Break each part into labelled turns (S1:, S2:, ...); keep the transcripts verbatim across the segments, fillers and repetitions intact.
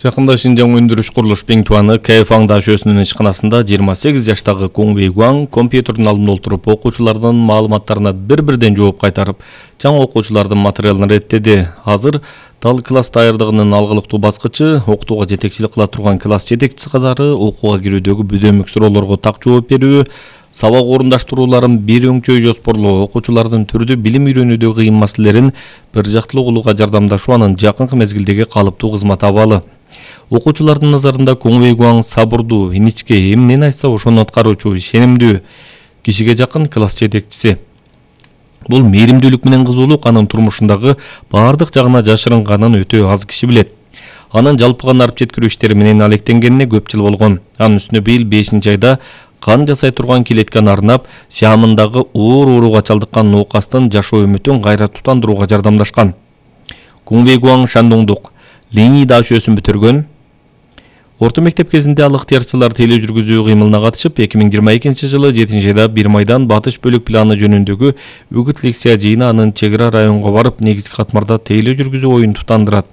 S1: Жакында Шинжаң өндүрүш курулуш Биңтуаны Кайфаң даашөсүнүн ишканасында жыйырма сегиз жаштагы Куң Вейгуаң компьютердин алдында отуруп окуучулардын маалыматтарына бир-бирден жооп кайтарып, жаңы окуучулардын материалын реттеди. Азыр дал класс даярдыгынын алгылыктуу баскычы, окутууга жетекчилик кыла турган класс жетекчиси катары окууга кирүүдөгү бүдөмүк суроолорго так жооп берүү, сабак орундаштырууларын бир өңчөй жоспорлоо, окуучулардын түрдүү билим үйрөнүүдө кыйын маселелерин бир жактылуу кылууга жардамдашуу анын жакынкы мезгилдеги калыптуу кызмат абалы. Окуучулардын назарында Куң Вейгуаң сабырдуу, иничке, эмнени айтса ошону аткаруучу, ишенимдүү, кишиге жакын класс жетекчиси. Бул мээримдүүлүк менен кызуулук анын турмушундагы бардык жагына жашырынганын өтө аз киши билет. Анын жалпыган арып жеткирүү иштери менен алектенгенине көп жыл болгон. Анын үстүнө быйыл бешинчи айда кан жасай турган килеткени арнап, Сиамындагы оор ооруга чалдыккан ноокастын жашоо үмүтүн кайра тутандырууга жардамдашкан. Куң Вейгуаң Шандоңдук Лени даашөсүн бүтүргөн. Орто мектеп кезинде ал ыктыярчылар тейлөө жүргүзүү кыймылына катышып, эки миң жыйырма экинчи жылы жетинчи айда бир майдан батыш бөлүк планы жөнүндөгү үгүт лекция жыйыны анын чек ара районго барып, негизги катмарда тейлөө жүргүзүү оюн тутандырат.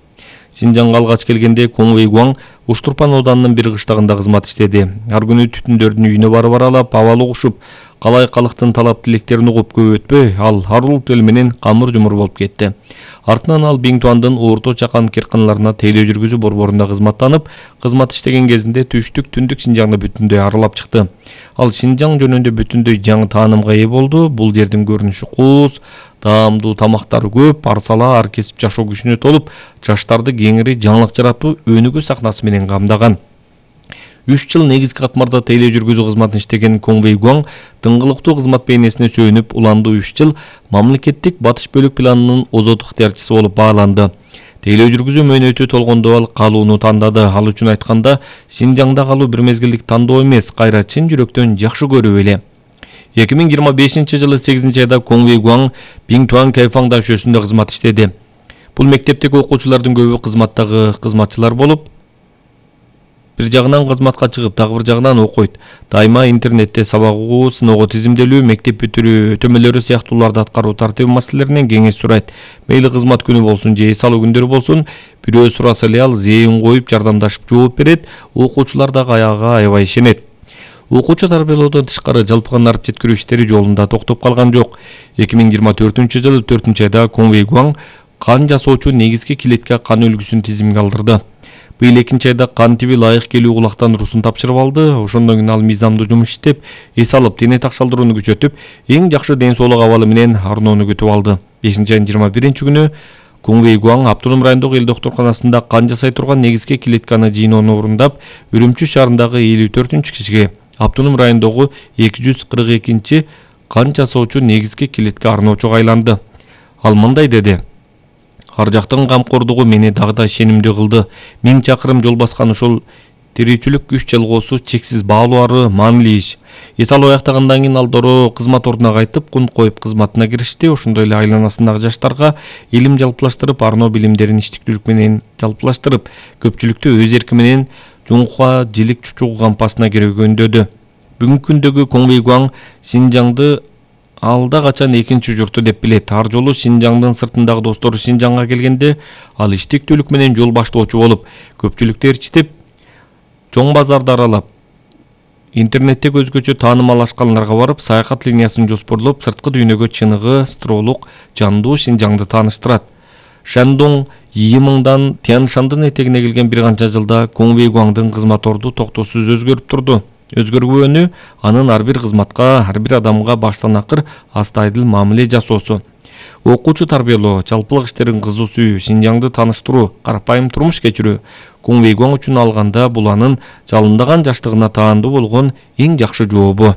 S1: Синжаңга алгач келгенде Куң Вейгуаң Уштурпан ауданынын бир кыштагында кызмат иштеди. Ар күнү түтүндөрдүн үйүнө барып аралап, абал угушуп, калай калктын талап тилектерин угуп көп өтпөй, ал арулук тил менен камыр жумур болуп кетти. Артынан ал Биңтуандын Орто Чакан керканаларына тейлөө жүргүзүү борборунда кызматтанып, кызмат иштеген кезинде түштүк түндүк Шинжаңды бүтүндөй аралап чыкты. Ал Шинжаң жөнүндө бүтүндөй жаңы таанымга ээ болду. Бул жердин көрүнүшү кууз, таамдуу тамактары көп, арсала ар кесип жашоо күчүнө толуп, жаштарды кеңири жаңылык жаратуу өнүгүү сахнасы менен камдаган. үч жыл негизги катмарда тейлөө жүргүзүү кызматын иштеген Куң Вейгуаң дыңгылыктуу кызмат бейнесине сүйөнүп, уландуу үч жыл мамлекеттик батыш бөлүк планынын озот ыктыярчысы болуп бааланды. Тейлөө жүргүзүү мөөнөтү толгондо ал калууну тандады. Ал үчүн айтканда, Шинжаңда калуу бир мезгилдик тандоо эмес, кайра чын жүрөктөн жакшы көрүү эле. эки миң жыйырма бешинчи жылы сегизинчи айда Куң Вейгуаң Биңтуан Кайфаң даашөсүндө кызмат иштеди. Бул мектептеги окуучулардын көбү кызматтагы кызматчылар болуп, бир жагынан кызматка чыгып, дагы бир жагынан окуйт. Дайыма интернетте сабак угуу, сыноого тизимделүү, мектеп бүтүрүү, өтөмөлөрү сыяктууларды аткаруу тартиби маселелеринен кеңеш сурайт. Мейли кызмат күнү болсун же эс алуу күндөрү болсун, бирөө сураса эле ал зээн коюп, жардамдашып жооп берет. Окуучулар дагы аягга аябай ишенет. Окуучу тарбиялоодон тышкары жалпыган арып жеткирүү иштери жолунда токтоп калган жок. эки миң жыйырма төртүнчү жылы төртүнчү айда Куң Вейгуаң кан жасоочу негизги килетке кан үлгүсүн тизимге алдырды. Быйыл экинчи айда кан тиби лайык келүү кулактан урусун тапшырып алды. Ошондон кийин ал мыйзамдуу жумуш иштеп, эс алып, дене такшалдырууну күчөтүп, эң жакшы ден соолук абалы менен арноону күтүп алды. бешинчи айдын жыйырма биринчи күнү Куң Вейгуаң Автоном райондогу эл доктурканасында кан жасай турган негизги килетканы жыйноону орундап, Үрүмчү шаарындагы элүү төртүнчү кишиге, Автоном райондогу эки жүз кырк экинчи кан жасоочу негизги килетке арноочуга айланды. Ал мындай деди: Ар жактын камкордугу мени дагы да ишенимдүү кылды. Миң чакырым жол баскан ушул тирүүчүлүк күч жалгоосу чексиз баалуу ары маанилүү иш. Эс алып аяктагандан кийин ал дороо кызмат ордуна кайтып, кун коюп кызматына киришти. Ошондой эле айланасындагы жаштарга илим жалпылаштырып, арноо билимдерин иштиктүүлүк менен жалпылаштырып, көпчүлүктү өз эрки менен жуңкуга жилик чучугу кампасына кирүүгө үндөдү. Бүгүнкү күндөгү Куң Вейгуаң Шинжаңды алда качан экинчи журту деп билет. Ар жолу Шинжаңдын сыртындагы достору Шинжаңга келгенде ал иштиктүүлүк менен жол баштоочу болуп, көпчүлүктү ээрчитип, чоң базарды аралап, интернетте өзгөчө таанымалашкандарга барып, саякат линиясын жоспорлоп, сырткы дүйнөгө чыныгы, стролук, жандуу Шинжаңды тааныштырат. Шандоң Йимыңдан Тяншандын этегине келген бир канча жылда Куң Вейгуаңдын кызмат орду токтоосуз өзгөрүп турду. Өзгөргөнү анын ар бир кызматка, ар бир адамга баштан акыр астайдыл мамиле жасоосу. Окуучу тарбиялоо, жалпылык иштерин кызуу сүйүү, Шинжаңды тааныштыруу, карапайым турмуш кечирүү. Куң Вейгуаң үчүн алганда бул анын жалындаган жаштыгына таандуу болгон эң жакшы жообу.